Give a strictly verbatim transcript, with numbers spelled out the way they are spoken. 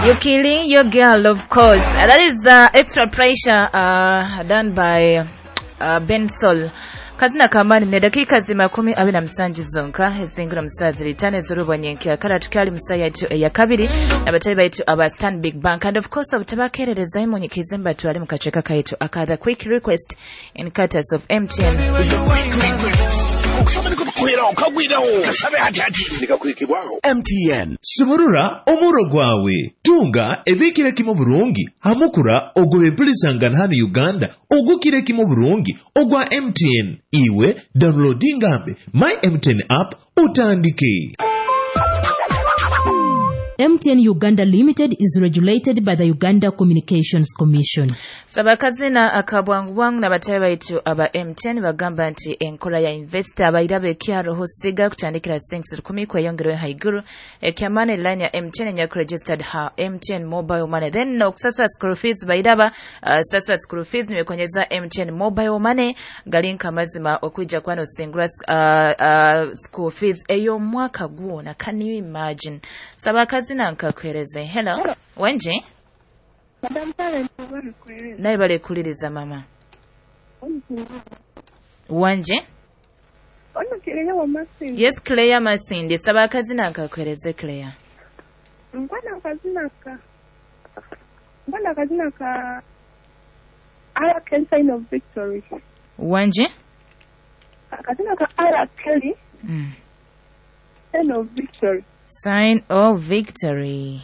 You're killing your girl, of course. Uh, that is uh, extra pressure uh, done by uh, Ben Sol. Kazina kamani ne dakika zima kumi abiri na musanju zonka ezingura musazi litane ez'olubonyenkya kale tukyali musaya yaitu eya kabiri abatali baitu aba Stanbic Bank and of course obutabakeerereza imunyikize mbatwale mu kaceka kaitu aka the quick request in courtesy of M T N. M T N sumurura omuro gwawe, tunga ebikira kimu burungi hamukura ogw'ebempulisangana hano Uganda ogukira kimu burungi ogwa M T N. Iwe downloadingambe My M T N app utandike. M T N Uganda Limited is regulated by the Uganda Communications Commission. Saba akazina akabwangu bwangu n'abatayi baitu aba M T N bagamba nti enkola ya investor abairaba ekyaro hosiga kutandikira sinks rukumi kweyongerayo haiguru. Ekyamani line ya M T N enyaku registered ha M T N Mobile Money, then okusasula school fees bairaba uh, sasula school fees nibekonyeza M T N Mobile Money galinka amazima okwija kwano osingura uh, uh, school fees ey'omwaka gwona. Can you imagine? Saba akazina nkakuhereze. Hello, wenje? Madam Talent, bari Naye balekuliriza mama wanje. Ono Kireya wa Masindi. Yes, Claire Masindi, saba akazina nkakuhereze, Claire. Nkwana akazina ka nkwana akazina ka R. Kelly, Sign of Victory. Wanje? Akazina ka R. Kelly, mm. Sign of Victory. Sign of Victory.